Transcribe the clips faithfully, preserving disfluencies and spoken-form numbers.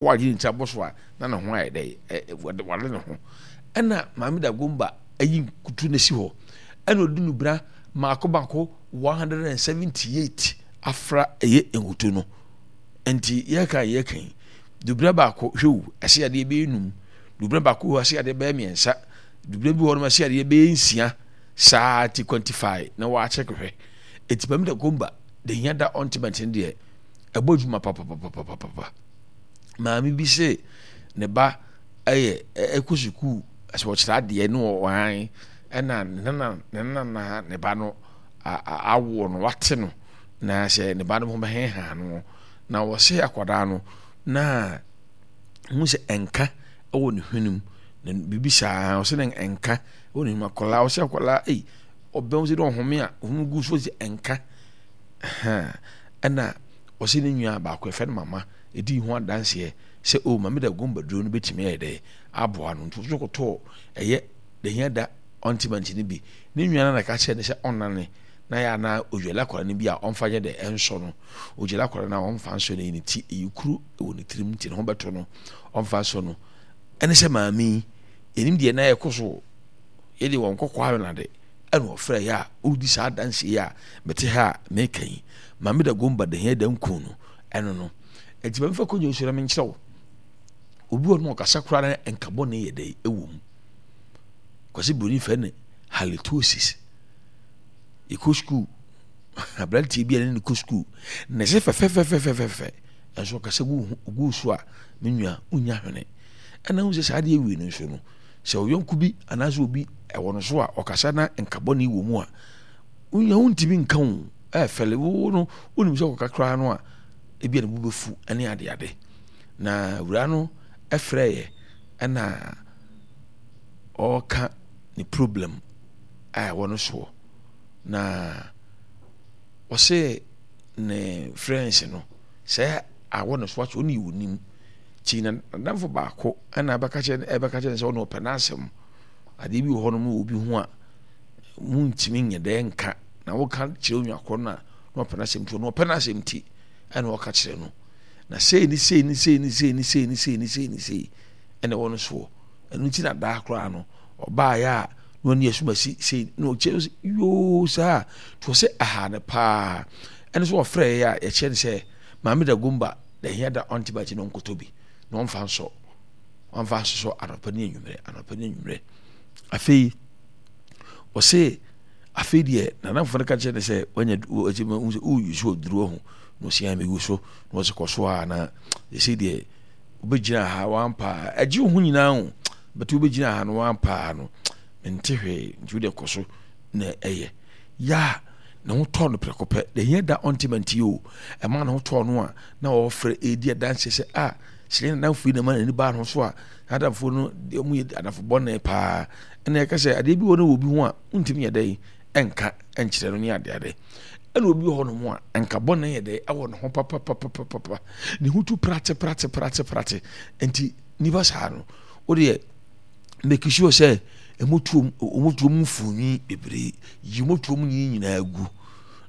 Wagye ne ti abɔ so a, na ne ho ayɛ dɛ, wade ne ho. Ɛna Maame Dagomba ayi nkutu no asi hɔ. Ɛna ɔde nubra mako mako one hundred and seventy eight afra ɛyɛ nkutu no. Nti yɛka yɛka yi, dubra baako hwɛ o, ɛsɛ yadeɛ bɛyɛ num. Dubra baako hɔ ɛsɛ yadeɛ bɛyɛ mmiɛnsa. Dubra bi wɔ hɔ nom ɛsɛ yadeɛ bɛyɛ nsia. Saa ti quantify na wɔakyɛk hwɛ. Eti Maame Dagomba de hia da ɔntiment no deɛ ɛbɔ adwuma papapapapapa. Maame bi se ne ba yɛ ɛkɔ sukuu sɛ ɔkyerɛ adeɛ ne ɔhan ɛna ne nana ne nana ne ba no awoɔ no wate no na sɛ ne ba no ho bɛheha no na wɔse akwadaa no na hu sɛ ɛnka ɛwɔ ne hwenem na biribi saa ɔsɛ ne ɛnka ɛwɔ ne hwenem akwadaa ɔsɛ akwadaa ei ɔbɛn sɛ ɔhome a ɔhome gu so sɛ ɛnka ɛna ɔsɛ ne nua baako ɛfɛ no mama dii ho adanseɛ sɛ o Maame Dagomba duro no bɛtumi ayɛ dɛ aboa no nti ɔso kɔtɔɔ ɛyɛ dahia da ɔntimɛnti no bi. Ne nua no na ɛka kyerɛ no sɛ ɔnnane na yɛ anaa odwale akwadaa no bi a ɔmfa nyɛ dɛ ɛnsɔ no. Odwale akwadaa no a ɔmfa nsɔ no yi ne ti ɛyɛ kuru wɔ ne tirim nti ne ho bɛtɔ no ɔmfa nsɔ no. Ɛne sɛ maame yi yɛnim deɛ na ɛkɔ so yɛde wɔn kɔkɔɔ awɛnade ɛna ɔfrɛ yɛ a ɔredi saa adanseɛ yi a mete ha a meka yi. Maame Dagomba dahia da nku no ɛno no. Enti ma memfa kɔnya nsuo na menkyerɛ wo. Obi wɔ no ɔkasa koraa na nka bɔne yɛ dɛ ɛwɔ mu. Kwasi Broni fɛ ne halitosis. Yɛkɔ sukuu, aberanteɛ bi a ne ne kɔ sukuu, na ɛsɛ fɛfɛfɛfɛfɛfɛ, ɛnso ɔkasa gu gu so a, me nua, wonya hwene. Ɛna wo sɛ saa adeɛ wei no nso no, sɛ ɔyɔnko bi anaasɛ obi ɛwɔ no so a ɔkasa na nka bɔne wɔ mu a, wonya wontumi nka wo ɛfɛle wo no, wonim sɛ ɔkaka koraa no a, ebia ne bo bɛfu ne adeade. Na wura no frɛeɛ ɛna ɔreka ne problem a ɛwɔ no soɔ. Na ɔse ne friends no sɛ awɔ ne so akyɛ ɔne ɔnim. Nti n'adamfo baako ɛna ɛbɛka kyerɛ ɛbɛka kyerɛ no sɛ ɔne ɔpɛ n'asɛm. Adeɛ bi wɔ hɔ nom obi ho a muntumi nyɛ dɛ nka na woka kyerɛ onua korɔ no a na ɔpɛ n'asɛm nti ɔno ɔpɛ n'asɛm nti ɛna ɔka kyerɛ no na sei ne sei ne sei ne sei ne sei ne sei ne sei ne sei ɛna ɛwɔ no soɔ ɛno nti na daa koraa no ɔbaayɛ a na ɔne asumasi sei na ɔkyerɛ sɛ yoo saa nti ɔsɛ aha no paa ɛno so ɔfrɛ yɛ a yɛkyerɛ no sɛ maame da gomba da hia da ɔnte bakyi na ɔnkɔtɔ bi na ɔmfa nsɔ ɔmfa nsosɔ anɔpa ne anwummerɛ anɔpa ne anwummerɛ afei ɔse afei deɛ nanamfo no ka kyerɛ no sɛ wanya ɔsɛ mahu sɛ woyi so aduro ho na ɔsi a megu so na ɔsɛ kɔ so a na ɛsɛ deɛ wobɛgyina ha wampaa agye wo ho nyinaa ho bɛte wobɛgyina ha no wampaa no mente hwee nti wode kɔ so na ɛyɛ ya a ne ho tɔɔ no prɛko pɛ deɛ hia da ɔnte mante o ɛma ne ho tɔɔ no a na ɔfrɛ ɛdi adanseɛ sɛ a sɛ yɛn adamfo yi na ma n'ani baa no so a adamfo no deɛ ɔmo yɛ adamfo bɔne paa ɛna ɛka sɛ adeɛ bi wɔ no wɔ obi ho a wontumi yɛ dɛn ɛnka ɛnkyerɛ no ne adeade ɛna obi wɔ hɔ nom a nka bɔne yɛ dɛn ɛwɔ ne ho papapapapapa ne ho tu prate prate prate prate nti nipa saa no wodeɛ make sure sɛ ɛmotuom ɔmotuom mfoni bebree yi motuom nyi nyinaa gu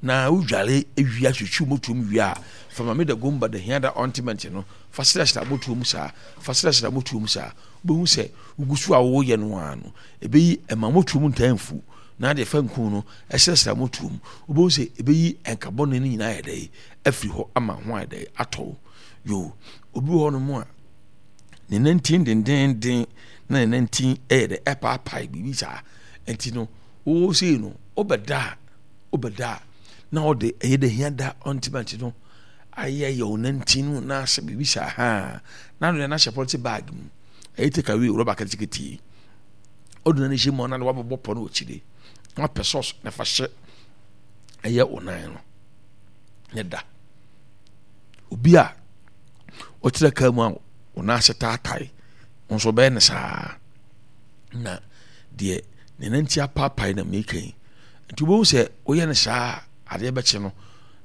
na wodware wia twitwi motuom wie a fa ma me da gomba da hia da ointment no fa srɛsrɛ motuom saa fa srɛsrɛ motuom saa wobɛhu sɛ wogu so a woyɛ no ara no ɛbɛyi ɛma motuom ntaa mfu na adeɛ fa nku no ɛsrɛsrɛ motuom wobɛhu sɛ ɛbɛyi ɛnka bɔne no nyinaa yɛ dɛ afiri hɔ ama ho ayɛ dɛ atɔ yo obi wɔ hɔ nom a ne nantin dendenden na ne nantin yɛ dɛ ɛpaapae biribi saa nti no wo sei no wobɛda a wobɛda a na ɔde ɛyɛ dɛ hia da ɔntimɛnti no ayɛ yɛ wo nantin no na asɛ biribi saa haa na no na hyɛ pɔliti bag mu ɛyɛ take away rɔba ketekete yi ɔde na ne hyɛ mu na wabɛbɔ pɔ no wɔ akyire na wapɛ sɔs na fa hyɛ ɛyɛ wo nan no ne da obi a ɔtena kaa mu a wo nan ase taatae wo nso bɛyɛ no saa na deɛ ne nanti apaapae na meka yi nti wobɛhu sɛ woyɛ no saa adeɛ bɛkye no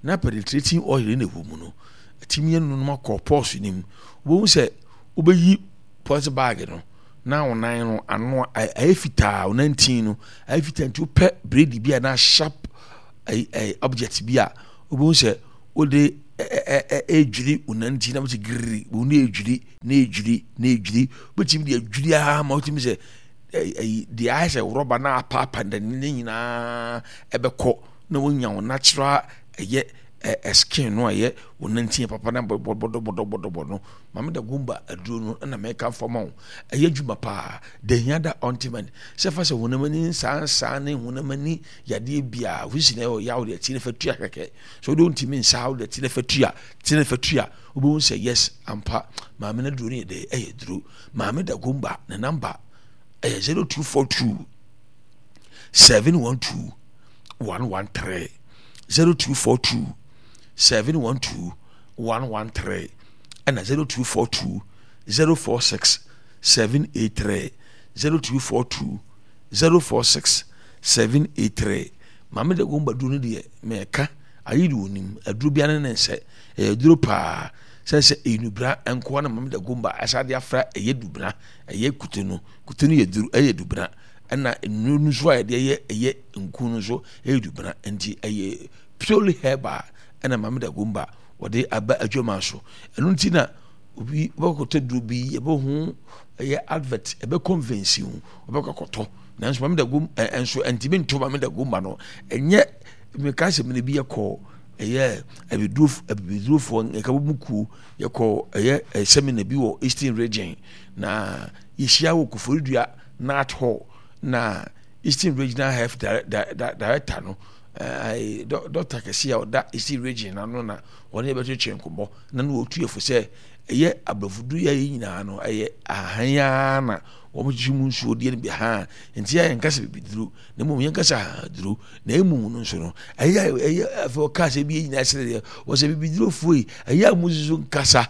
na penetrating oil na ɛwɔ mu no ɛtumi yɛ nonom akɔ pɔs no mu wobɛhu sɛ wobɛyi pɔs bag no na wo nan no ano ayɛ fitaa wo nantin no ayɛ fitaa nti wopɛ bredi bi a na sharp object bi a wobɛhu sɛ wode ɛdwiri wo nanti na wote giriri wo ne ɛdwiri na ɛdwiri na ɛdwiri wobɛtumi de adwiri ara ma wotumi sɛ ɛyi deɛ ayɛ sɛ rɔba na apaapa ne nyinaa ɛbɛkɔ na wonya wo natural ɛyɛ ɛ skin no a ɛyɛ wo nanti papa na bɔdɔbɔdɔbɔdɔbɔ no. Maame da gomba aduro no na mɛka fam wo ɛyɛ adwuma paa dehia da ointment sɛ fa sɛ honam ani nsansan ne honam ani yadeɛ bia wosisi na ɛyɛ yaw deɛ ti ne fa tua kɛkɛ so wode wontumi nsa wo deɛ ti ne fa tua ti ne fa tua wobɛhu sɛ yes ampa maame no aduro no yɛ dɛ ɛyɛ duro. Maame da gomba ne number ɛyɛ zero two four two seven one two one one three zero two four two seven one two one one three ɛna zero two four two zero four six seven eight three zero two four two zero four six seven eight three. Maame da gomba duro no deɛ mɛka ayi de onim aduro bi ane ne nsɛ ɛyɛ duro paa sɛ sɛ enubra nkoa na maame da gomba ɛsa de afra ɛyɛ dubra ɛyɛ kutu no kutu no yɛ duro ɛyɛ dubra ɛna nnuro no nso a yɛde ɛyɛ ɛyɛ nku no nso ɛyɛ dubra nti ɛyɛ purely herbal ɛna maame da gomba wɔde aba adwuma so. Ɛno nti na obi wɔkɔtɔ duro bi ɛbɛho ɛyɛ advert ɛbɛ convince wo wɔbɛkɔ akɔtɔ nanso maame da gom ɛ ɛnso ɛntumi nto maame da gomba no ɛnyɛ meka sɛ mene bi yɛkɔ ɛyɛ abiduro abibidurofoɔ nka bɔ mu kuo yɛkɔ ɛyɛ ɛ seminar bi wɔ Eastern Region na yɛhyia wɔ Koforidua Nat Hall na Eastern Regional Health Director no ɛɛ dɔkta kɛse a ɔda Eastern Region ano na wɔne yɛbɛtwetwe nkɔmmɔ na no wɔtu yɛfo sɛ ɛyɛ aborɔfo yɛ yi nyinaa no ɛyɛ ahan ara na wɔn hyehyɛ mu nsuo deɛ no bi ha nti yɛ nkasa bibiduro na mmom yɛn kasa duro na emu no nso no ɛyɛ ɛyɛ afɛ ɔka sɛ ebi nyinaa sɛ deɛ wɔsɛ bibiduro foɔ yi ɛyɛ a mo nso nkasa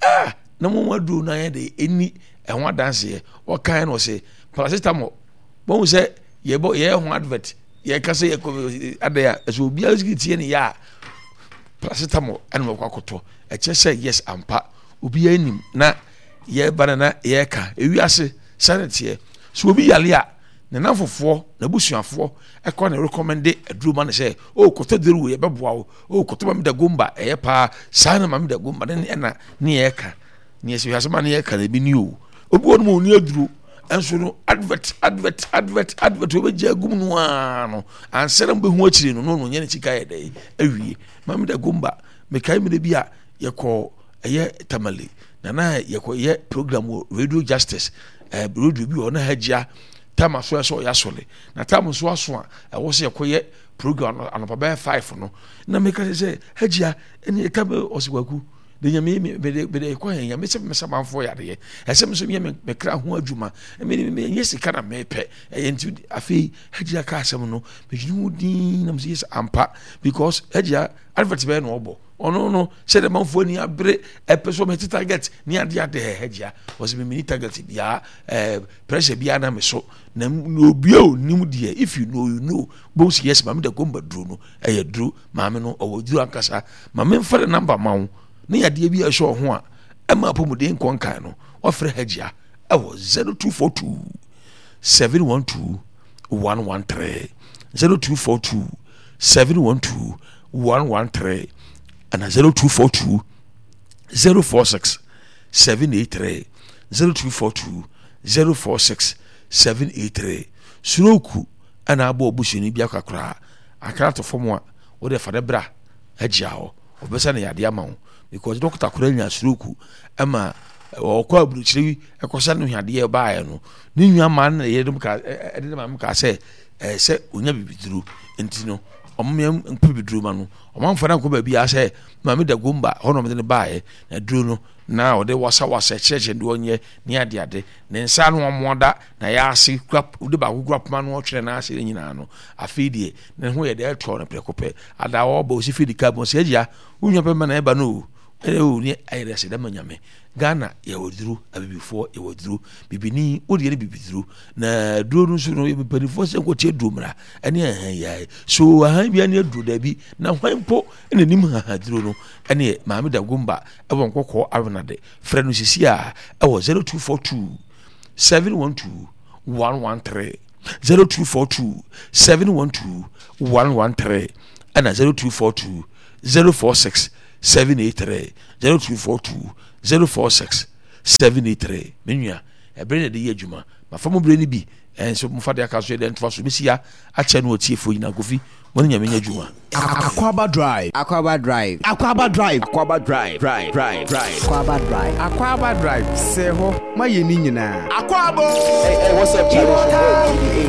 ah na mo aduro no ayɛ de ɛni ɛho adanseɛ wɔkan no sɛ paracetamol wɔn sɛ yɛbɔ yɛyɛ ho advert yɛka sɛ yɛkɔ adɛ a ɛsɛ obiara sigi tie ne yɛ a paracetamol ɛna wɔkɔ akɔtɔ ɛkyɛ sɛ yes ampa obiara nim na yɛba na na yɛka ewiase sɛne teɛ so obi yale a ne namfofoɔ n'abusuafoɔ ɛkɔ ne recommende aduro ma ne sɛ o kɔtɔ duro wei ɛbɛboa wo o kɔtɔ maame da gomba ɛyɛ paa saa na maame da gomba ne ɛna ne yɛka ne yɛsɛ wiase ma ne yɛka na ebi ni o obi wɔ no ma oni aduro ɛnso no advert advert advert advert obɛgye agum no aa no ansa na mbɛhu akyire no no no nyɛ ne sika yɛ dɛ awie maame da gomba mekae mmerɛ bi a yɛkɔ ɛyɛ Tamale na na yɛkɔ yɛ program wɔ Radio Justice ɛɛ radio bi wɔ na hagyia tama so ɛsɛ ɔyɛ asɔle na tam nso aso a ɛwɔ sɛ yɛkɔ yɛ program no anɔpa bɛyɛ five no na meka sɛ sɛ hagyia ɛne ɛka bɛ ɔsɛ kwaku de nyame me me de me de kɔ yɛn nyame sɛ me sɛ manfo yadeɛ ɛsɛ me so yɛ me me kra ho adwuma me me nyɛ sika na mepɛ ɛyɛ nti afei hagyia ka asɛm no medwene ho din na me sɛ yes ampa because hagyia advert bɛyɛ na ɔbɔ ɔno no sɛ de manfo ani abere ɛpɛ so mɛte target ne ade ade hagyia ɔsɛ me mini target biara ɛɛ pressure biara na me so na obi a onim deɛ if you know you know both yes maame da gomba duro no ɛyɛ duro maame no ɔwɔ duro ankasa maame nfa ne number ma wo ne yadeɛ bi a ɛhyɛ ɔho a ɛma apɔmuden nkɔnkan no wafrɛ hagyia ɛwɔ zero two four two seven one two one one three zero two four two seven one two one one three ɛna zero two four two zero four six seven eight three zero two four two zero four six seven eight three. Suroku ɛna abɔ obusuani bi akakora akra to fam a wɔde fa ne bra agyia hɔ ɔbɛsa ne yadeɛ ama wo because doctor kora nya suroku ɛma ɔkɔ aburukyire yi ɛkɔsa no yadeɛ baeɛ no ne nua maa no yɛde ka ɛde ne maame ka sɛ ɛɛ sɛ onya bibiduro nti no ɔmo yɛ mpɛ bibiduro ma no ɔmo amfa no ankɔ baabi a sɛ maame da gomba hɔ na ɔmo de no baeɛ na duro no na ɔde wasawasa kyerɛkyerɛ deɛ ɔnyɛ ne ade ade ne nsa no ɔmo da na yɛ ase kura ɔde baako kura poma no ɔtwere n'ase ne nyinaa no afei deɛ ne ho yɛ deɛ ɛtɔ no prɛko pɛ ada ɔba osi fi di ka bɔ sɛ agya wonwa pɛ ma na ɛba no o ɛyɛ o ne ayɛ dɛ sɛ dɛm nyame Ghana yɛwɔ duro abibifoɔ yɛwɔ duro bibini o deɛ ne bibiduro na duro no nso no yɛ mpanimfoɔ sɛ nkɔtie duro mmra ɛne ahan yɛ so ahan bi ne aduro daabi na hwan mpo ɛna nim haha duro no ɛne maame da gomba ɛwɔ nkɔkɔɔ awenade frɛ no sisi a ɛwɔ zero two four two seven one two one one three zero two four two seven one two one one three ɛna zero two four two zero four six seven eight three zero two four two zero four six seven eight three. Me nua, ɛbere na ɛde yɛ adwuma. Mafa mo bere no bi ɛnso mofa de aka so yɛ dɛ ntoa so bɛsi ya akyɛ no atiefoɔ nyinaa. Kofi, mo ne Nyame nyɛ adwuma. Akwaaba Drive. Akwaaba Drive. Akwaaba Drive. Akwaaba Drive. Drive. Drive. Drive. Akwaaba Drive. Akwaaba Drive. Sɛ hɔ ma yɛ ni nyinaa. Akwaaba. Hey, hey, what's up, Charlie? It's your boy G D A.